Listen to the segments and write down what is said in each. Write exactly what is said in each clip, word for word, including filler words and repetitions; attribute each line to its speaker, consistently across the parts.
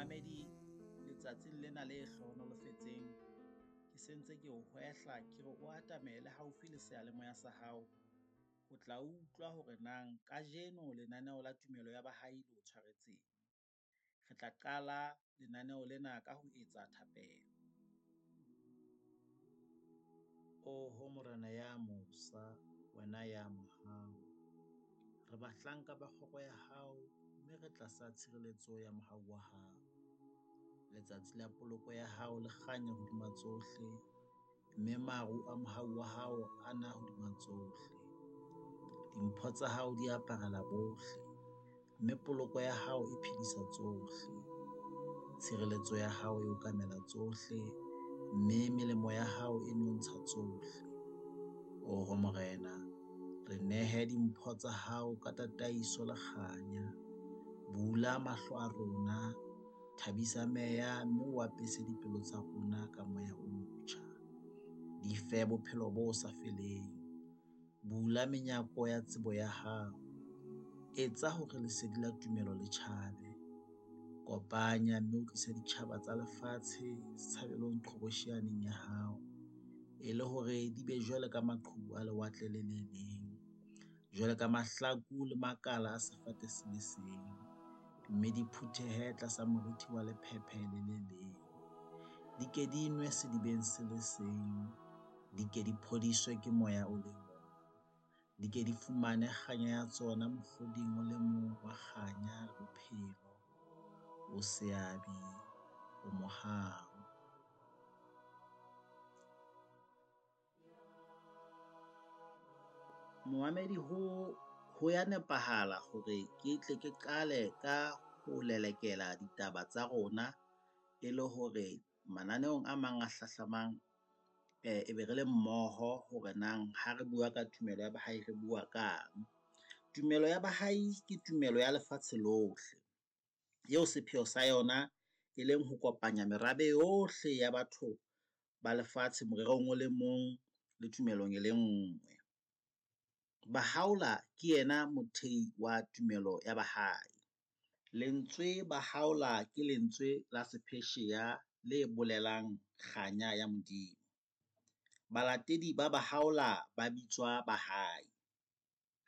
Speaker 1: Momamedi letsatsing lena le hlohonolofetseng, ke sentse ke o hwehla ke re o atamele haufi le seyalemoya sa hao, o tla utlwa hore nang kajeno lenaneo la Tumelo ya Bahai le o tshwaretseng. Re tla qala lenaneo lena ka ho etsa thapelo. Oho Morena ya mosa, wena ya mohau, re bahlanka ba kgoro ya hao, mme re tlasa tshireletso ya mohau wa hao. Letsatsi la poloko ya hao le kganya hodima tsohle, mme maru a mohau wa hao a na hodima tsohle. Dimpho tsa hao di aparela bohle, mme poloko ya hao e phedisa tsohle. Tshireletso ya hao e okamela tsohle, mme melemo ya hao e nontsha tsohle. Oho Morena, re nehe dimpho tsa hao ka tataiso le kganya. Bula mahlo a rona, thabisa meya, mme o apese dipelo tsa rona ka moya o motjha. Di fe bophelo bo sa feleng, bula menyako ya tsebo ya hao, etsa hore lesedi la tumelo le tjhabe. Kopanya mme o tlise ditjhaba tsa lefatshe setshabelong qhobosheaneng ya hao, e le hore di be jwalo ka maqhubu a lewatle le le leng, jwalo ka mahlaku le makala a sefate se le seng, mme di phuthehe tlasa moriti wa lephephe le le leng. Di ke di nwe sedibeng se le seng, di ke di phodiswe ke moya o le mong, di ke di fumane kganya ya tsona mohloding o le mong wa kganya le bophelo, o seabi, o mohau. Momamedi ho, ho ya nepahala hore ke tle ke qale ka ho lelekela ditaba tsa rona e le hore mananeong a mang a hlahlamang e be re le mmoho hore nang ha re bua ka tumelo ya bahai re bua kang. Tumelo ya Bahai ke tumelo ya lefatshe lohle eo sepheo sa yona e leng ho kopanya merabe yohle ya batho ba lefatshe morerong o le mong le tumelong e le ngwe. Bahaola ke yena mothei wa tumelo ya Bahai. Lentswe Bahaola ke lentswe la sephesheya le bolelang kganya ya Modimo. Balatedi ba Bahaola ba bitswa Bahai.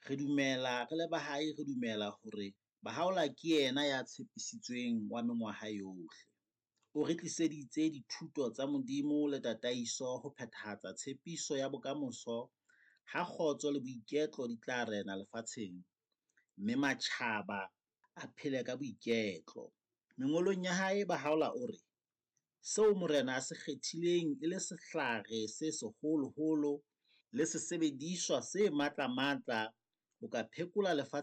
Speaker 1: Re dumela re le Bahai, re dumela hore Bahaola ke yena ya tshepisitsweng wa mengwaha yohle. O re tliseditse dithuto tsa Modimo le tataiso ho phethahatsa tshepiso ya bokamoso ha kgotso le boiketlo di tla rena lefatsheng, mme matjhaba a phele ka boiketlo. Mengolong ya hae Bahaola o re, seo Morena a se kgethileng e le sehlare se seholoholo le sesebediswa se matlamatla ho ka phekola lefatshe.